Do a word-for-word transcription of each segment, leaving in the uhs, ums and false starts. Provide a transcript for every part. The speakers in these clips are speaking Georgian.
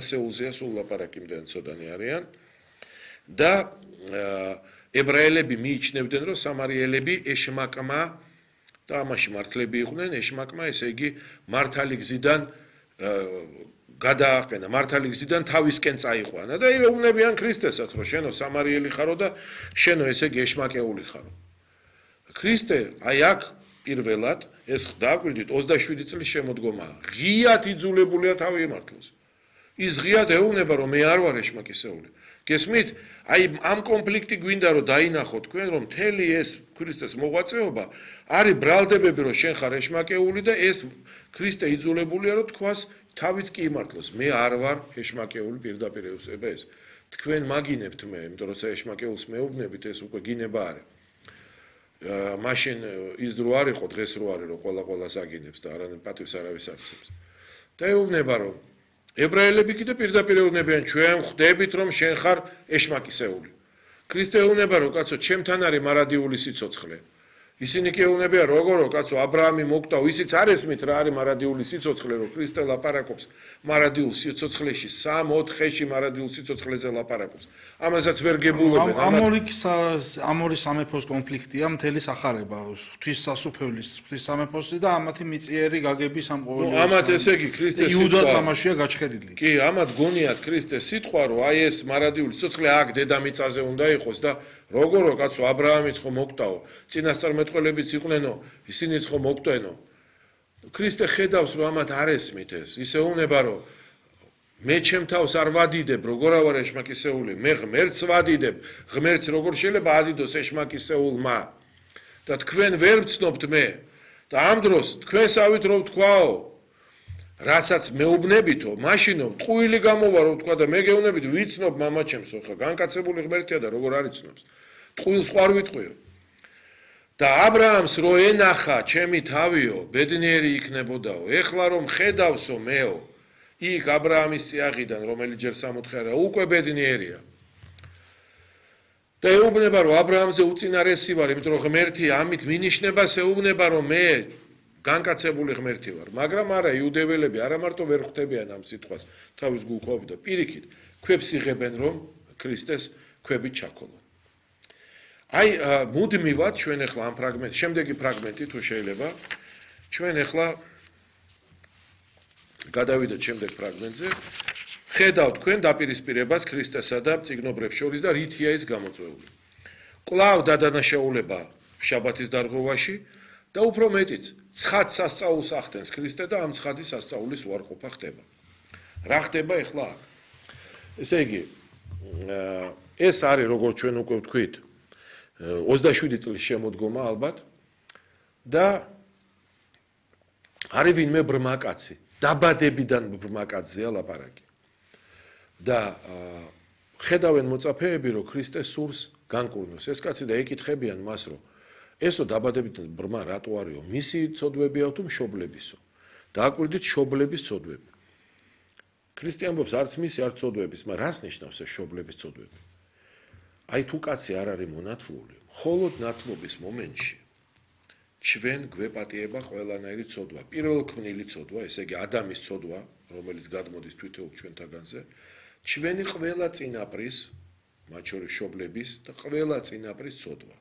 ასეულზეა სულ ლაპარაკი იმდენ ცოდანი არიან და ებრაელები მიიჩნევდნენ რომ სამარიელები ეშმაკმა და ამაში მართლები იყვნენ ეშმაკმა ესე იგი მართალი გზიდან გადააყენა მართალი გზიდან თავისკენ წაიყვანა და ეუბნებიან ქრისტესაც რომ შენო სამარიელი ხარო და შენო ესე იგი ეშმაკეული ხარო ქრისტე აი აქ პირველად ეს დააკვირდით ოცდაშვიდი წლის შემოდგომაა ღიად იძულებულია თავი ემართლოს ის ღიად ეუბნება რომ მე არ ვარ ეშმაკისეული გესმით აი ამ კონფლიქტი გვინდა რომ დაინახო თქვენ რომ მთელი ეს ქრისტეს მოღვაწეობა არის ბრალდებები რომ შენ ხარ ეშმაკეული და ეს ქრისტე იძულებულია რომ თქვას თავიც კი იმართლოს მე არ ვარ ეშმაკეული პირდაპირ ევსება ეს თქვენ მაგინებთ მე იმიტომ რომ ეშმაკეულს მეუბნებით ეს უკვე გინება არის მაშინ ის დრო არ იყო დღეს რო არის რომ ყველა ყველას აგინებს და არანაირ პატივს არავის არცებს და ეუბნება რომ ებრაელები კიდე პირდაპირ ეუბნებიან ჩვენ ხვდებით რომ შენ ხარ ეშმაკისეული ქრისტე ეუბნება რომ კაცო ჩემთან არის მარადიული სიცოცხლე ისინი კი ეუბნებიან როგორ კაცო აბრაამი მოკტავ ისიც არ ესმით რა არის მარადიული სიცოცხლე რომ ქრისტე ლაპარაკობს მარადიულ სიცოცხლეში სამ ოთხეში მარადიულ სიცოცხლეზე ლაპარაკობს ამასაც ვერ გებულებენ ამ ორი ამ ორი სამეფოს კონფლიქტია მთელი სახარება ღვთის სასუფეველის ღვთის სამეფოსი და ამათი მიწიერი გაგების ამ ყოველი ამათ ესე იგი ქრისტეს იუდას ამაშია გაჩქერილი კი ამათ გონიათ ქრისტეს სიტყვა რომ აი ეს მარადიული სიცოცხლე აქ დედამიწაზე უნდა იყოს და როგორო კაცო აბრაამიც ხო მოკტაო წინასწარმეტყველებიც იყვნენო ისინიც ხო მოკტენო ქრისტე ხედავს რომ ამათ არ ესმით ეს ისე უნება რომ მე ჩემ თავს არ ვადიდებ როგორ ვარ ეშმაკისეული მე ღმერთს ვადიდებ ღმერთს როგორ შეიძლება ადიდოს ეშმაკისეულმა და თქვენ ვერ ვცნობთ მე და ამ დროს თქვენსავით რომ ვთქვაო რასაც მეუბნებითო მაშინო ტყუილი გამოვა რომ ვთქვა და მე გეუბნებით ვიცნობ მამაჩემსო ხა განკაცებული ღმერთია და როგორ არ იცნობს ტყუილს ხარ ვიტყვიო და აბრაამს რო ენახა ჩემი თავიო ბედნიერი იქნებოდაო ეხლა რომ ხედავსო მეო იქ აბრაამის წიაღიდან რომელიც ჯერ სამოთხე არა უკვე ბედნიერია და ეუბნება რომ აბრაამზე უწინარესი ვარ იმიტომ რომ ღმერთი ამით მინიშნებას ეუბნება რომ მე განკაცებული ღმერთი ვარ მაგრამ არა იუდეველები არა მარტო ვერ ხვდებიან ამ სიტყვას თავის გულხოვით და პირიქით ქვებს იღებენ რომ ქრისტეს ქვებით ჩაქოლონ აი მუდმივად ჩვენ ახლა ამ ფრაგმენტ შემდეგი ფრაგმენტი თუ შეიძლება ჩვენ ახლა გადავიდეთ შემდეგ ფრაგმენტზე ხედავთ თქვენ დაპირისპირებას ქრისტესა და წიგნობრებს შორის და რითია ის გამოწვეული კვლავ დადანაშაულება შაბათის დარღვევაში და უფრო მეტიც ცხად სასწაულს ახდენს ქრისტე და ამ ცხადის სასწაულის უარყოფა ხდება რა ხდება ახლა ესე იგი ეს არის როგორც ჩვენ უკვე ვთქვით ოცდაშვიდი წლის შემოდგომა ალბათ და არის ვინმე ბრმაკაცი დაბადებიდან ბრმაკაცია ლაპარაკი და ხედავენ მოწაფეები რომ ქრისტე სურს განკურნოს ეს კაცი და ეკითხებიან მას რომ ესო დაბადებიდან ბრმა რატო არისო მისი ცოდვებია თუ მშობლებისო დააკვირდით მშობლების ცოდვები ქრისტე ამბობს არც მისი არც ცოდვების მაგრამ რას ნიშნავს ეს მშობლების ცოდვები აი თუ კაცი არ არის მონათლული მხოლოდ ნათლობის მომენტში ჩვენ გვეპატიება ყველანაირი ცოდვა პირველქმნილი ცოდვა ესე იგი ადამის ცოდვა რომელიც გადმოდის თვითონ ჩვენთაგანზე ჩვენი ყველა წინაპრის მათ შორის მშობლების და ყველა წინაპრის ცოდვა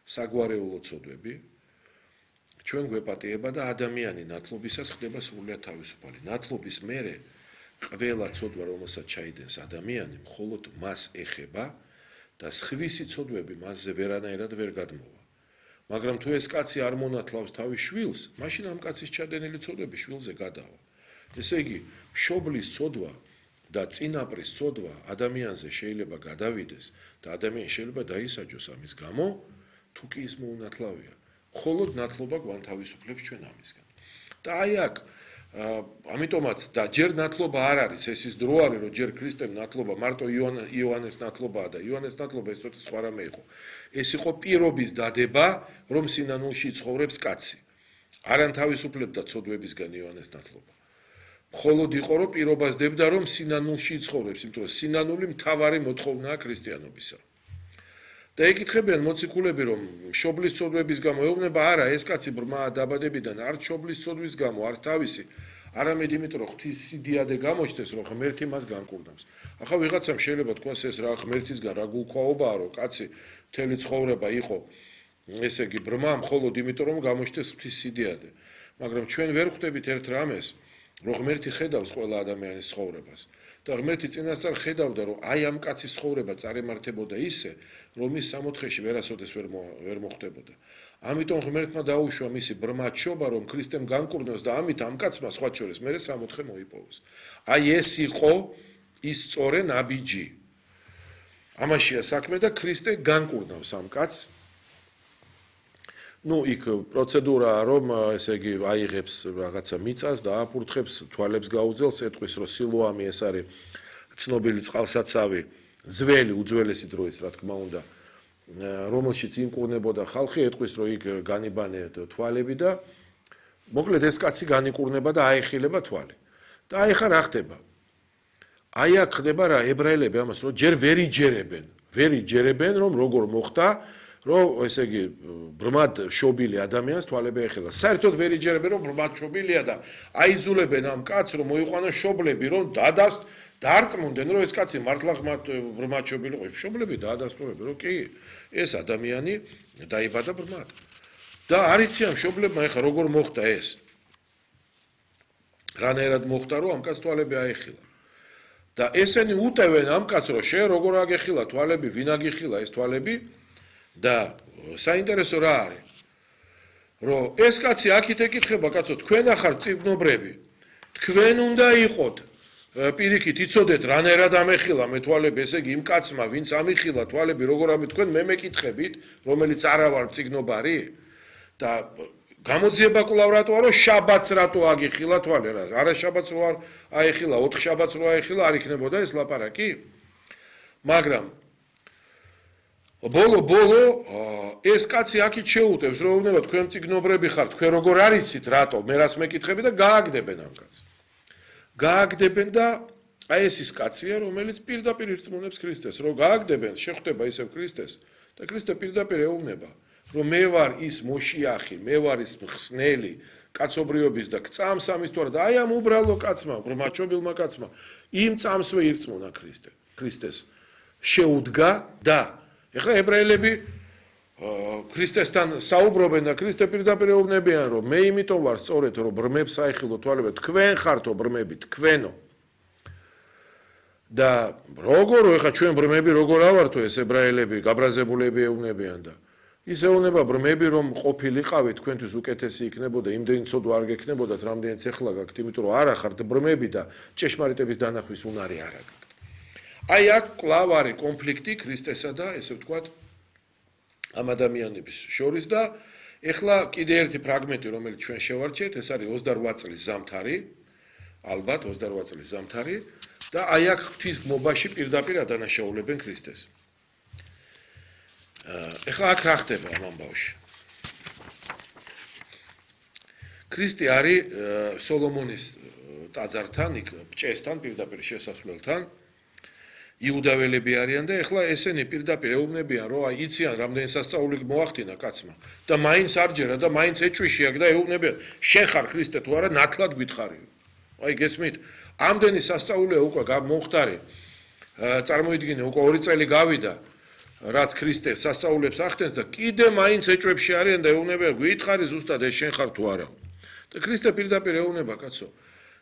საგვარეულო ცოდვები ჩვენ გვეპატიება და ადამიანი ნათლობისას ხდება სრულიად თავისუფალი ნათლობის მერე ყველა ცოდვა რომელსაც ჩაიდენს ადამიანი მხოლოდ მას ეხება და სხვისი ცოდვები მასზე ვერანაირად ვერ გადმოვა მაგრამ თუ ეს კაცი არ მონათლავს თავის შვილს მაშინ ამ კაცის ჩადენილი ცოდვები შვილზე გადავა ესე იგი მშობლის ცოდვა და წინაპრის ცოდვა ადამიანზე შეიძლება გადავიდეს და ადამიანი შეიძლება დაისაჯოს ამის გამო თუ კი ის მოუნათლავია მხოლოდ ნათლობა გვანთავისუფლებს ჩვენ ამისგან და აი აქ ამიტომაც და ჯერ ნათლობა არ არის ეს ის დრო არის რომ ჯერ ქრისტემ ნათლობა მარტო იოანეს ნათლობაა და იოანეს ნათლობა ეს თვითონ სხვა რამე იყო ეს იყო პირობის დადება რომ სინანულში ცხოვრობს კაცი არან თავისუფლებდა ცოდვებისგან იოანეს ნათლობა მხოლოდ იყო რომ პირობას დებდა რომ სინანულში ცხოვრობს იმიტომ რომ სინანული მთავარი მოთხოვნაა ქრისტიანობისა და ეკითხებიან მოციქულები რომ მშობლის ცოდვების გამო ეუბნება არა ეს კაცი ბრმა დაბადებიდან არც მშობლის ცოდვის გამო არც თავისი არამედ იმიტომ რომ ღვთის სიდიადე გამოჩნდეს რომ ღმერთი მას განკურნავს. ახლა ვიღაცამ შეიძლება თქვას ეს რა ღმერთისგან რა გულქვაობაა რომ კაცი მთელი ცხოვრება იყო ესე იგი ბრმა მხოლოდ იმიტომ რომ გამოჩნდეს ღვთის სიდიადე. მაგრამ ჩვენ ვერ ხვდებით ერთ რამეს რომ ღმერთი ხედავს ყველა ადამიანის ცხოვრებას და ღმერთი წინასწარ ხედავდა რომ აი ამ კაცის ცხოვრება წარემართებოდა ისე რომ ის სამოთხეში ვერასოდეს ვერ ვერ მოხდებოდა. ამიტომ ღმერთმა დაუშვა მისი ბრმა ჩობა რომ ქრისტემ განკურნოს და ამით ამ კაცმა სხვა შორის მერე სამოთხე მოიპოვოს. აი ეს იყო ის სწორე ნაბიჯი. ამაშია საქმე და ქრისტე განკურნავს ამ კაცს. ну იქ პროცედურაა რომ ესე იგი აიღებს რაღაცა მიწას და აფურთხებს თვალებს გაუძელს ეტყვის რომ სილოამი ეს არის ცნობილი წყალსაცავი ძველი უძველესი დროის რა თქმა უნდა რომელშიც იმკურნებოდა ხალხი ეტყვის რომ იქ განიბანე თვალები და მოკლედ ეს კაცი განიკურნება და აეხილება თვალი და აი ხა რა ხდება აი აქ ხდება რა ებრაელები ამას რომ ჯერ ვერ იჯერებენ ვერ იჯერებენ რომ როგორ მოხდა რომ ესე იგი ბრმად შობილი ადამიანს თვალები ეხელა. საერთოდ ვერ იჯერებენ რომ ბრმად შობილია და აიძულებენ ამ კაცს რომ მოიყვანოს შობლები რომ დადას დარწმუნდნენ რომ ეს კაცი მართლა ბრმად შობილი ყო. შობლები დაადასტურებენ რომ კი ეს ადამიანი დაიბადა ბრმად. და არიცი ამ შობლებმა ეხა როგორ მოხდა ეს. რანაირად მოხდა რომ ამ კაცს თვალები აეხილა. და ესენი უტევენ ამ კაცს რომ შენ როგორ აგეხილა თვალები, ვინ აგიხილა ეს თვალები? და საინტერესო რა არის რომ ეს კაცი აქეთ ეკითხება კაცო თქვენ ახარ წიგნობრები თქვენ უნდა იყოთ პირიქით იცოდეთ რანაირად ამეხილა მე თვალები ესე იგი იმ კაცმა ვინც ამიხილა თვალები როგორ ამი თქვენ მე მეკითხებით რომელიც არა ვარ წიგნობარი და გამოძიება კვლავ რატოა რომ შაბათს რატო აგიხილა თვალი რა არა შაბათს რო არ აეხილა ოთხ შაბათს რო აეხილა არ იქნებოდა ეს ლაპარაკი მაგრამ ბოლო ბოლო ეს კაცი აქით შეუტევს რომ უნდა თქვენ წიგნობრები ხართ თქვენ როგორ არიცით რატო მე რას მეკითხები და გააგდებენ ამ კაცს გააგდებენ და აი ეს ის კაცია რომელიც პირდაპირ ირწმუნებს ქრისტეს რომ გააგდებენ შეხვდება ისევ ქრისტეს და ქრისტე პირდაპირ ეუბნება რომ მე ვარ ის მოშიახი მე ვარ ის მხსნელი კაცობრიობის და წამს ამის თორე და აი ამ უბრალო კაცმა ბრმაჩობილმა კაცმა იმ წამსვე ირწმუნა ქრისტე ქრისტეს შეუდგა და ეხლა ებრაელები ქრისტესთან საუბრობენ და ქრისტე პირდაპირ ეუბნებიან რომ მე იმიტომ ვარ სწორედ რომ ბრმებს აეხილო თვალები თქვენ ხართო ბრმები თქვენო და როგორ ეხლა ჩვენ ბრმები როგორ ავართო ეს ებრაელები გაბრაზებულები ეუბნებიან და ის ეუბნება ბრმები რომ ყოფილიყავით თქვენთვის უკეთესი იქნებოდა იმდენი ცოდვა არ გექნებოდათ რამდენიც ეხლა გაქვთ იმიტომ რომ არა ხართ ბრმები და ჭეშმარიტების დანახვის უნარი არ აქვს აი აქ კვლავ არის კონფლიქტი ქრისტესა და ესე ვთქვათ ამ ადამიანების შორის და ეხლა კიდე ერთი ფრაგმენტი რომელიც ჩვენ შევარჩიეთ ეს არის ოცდაოთხ წლის ზამთარი ალბათ ოცდაოთხ წლის ზამთარი და აი აქ ღვთის მობაში პირდაპირ ადანაშაულებენ ქრისტეს ეხლა აქ რა ხდება ამ ამბავში ქრისტე არის სოლომონის ტაძართან იქ ბჭესთან პირდაპირ შესასვლელთან იუდაველები არიან და ეხლა ესენი პირდაპირ ეუბნებიან რომ აი იციან რამდენი სასწაული მოახდინა კაცმა და მაინც არ ჯერა და მაინც ეჭვიში აქვს და ეუბნებიან შენ ხარ ქრისტე თუ არა ნათლად გითხარი აი გესმით ამდენი სასწაულია უკვე მომხდარი წარმოიდგინე უკვე ორი წელი გავიდა რაც ქრისტე სასწაულებს ახდენს და კიდე მაინც ეჭვებში არიან და ეუბნებიან გითხარი ზუსტად ეს შენ ხარ თუ არა და ქრისტე პირდაპირ ეუბნება კაცო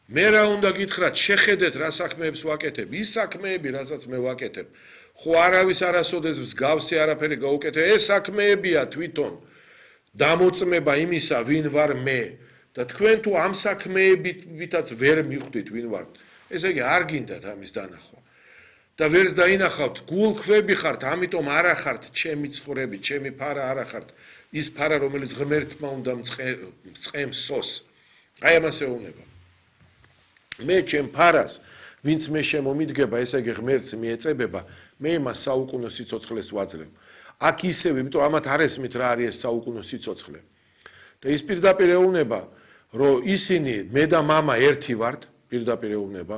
მე რა უნდა გითხრათ შეხედეთ რა საქმეებს ვაკეთებ ის საქმეები რასაც მე ვაკეთებ ხო არავის არასოდეს მსგავსი არაფერი გაუკეთე ეს საქმეებია თვითონ დამოწმება იმისა ვინ ვარ მე და თქვენ თუ ამ საქმეებითაც ვერ მიხვდით ვინ ვარ ესე იგი არ გინდათ ამის დანახვა და ვერც დაინახავთ გულქვები ხართ ამიტომ არ ახართ ჩემი ცხოვრები ჩემი ფარა არ ახართ ის ფარა რომელიც ღმერთმა უნდა მწყემს სოს აი ამას ეუბნება მე ჩემ ფარას ვინც მე შემომიდგება ესე იგი ღმერთს მიეწებება მე იმას საუკუნო სიცოცხლეს ვაძლევ აქ ისევ იმიტომ ამათ არ ესმით რა არის ეს საუკუნო სიცოცხლე და ის პირდაპირ ეუბნება რომ ისინი მე და მამა ერთი ვართ პირდაპირ ეუბნება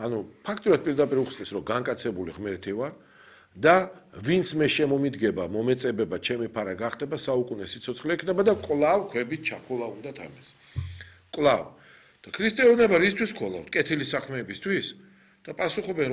ანუ ფაქტურად პირდაპირ უხსნის რომ განკაცებული ღმერთი ვარ და ვინც მე შემომიდგება მომეწებება ჩემი ფარა გახდება საუკუნო სიცოცხლე ექნება და კვლავ ქვებით ჩაქოლა უნდა თამეს კვლავ და ქრისტიანობა რისთვის ქოლავთ? კეთილი საქმეებისთვის? და პასუხობენ, რომ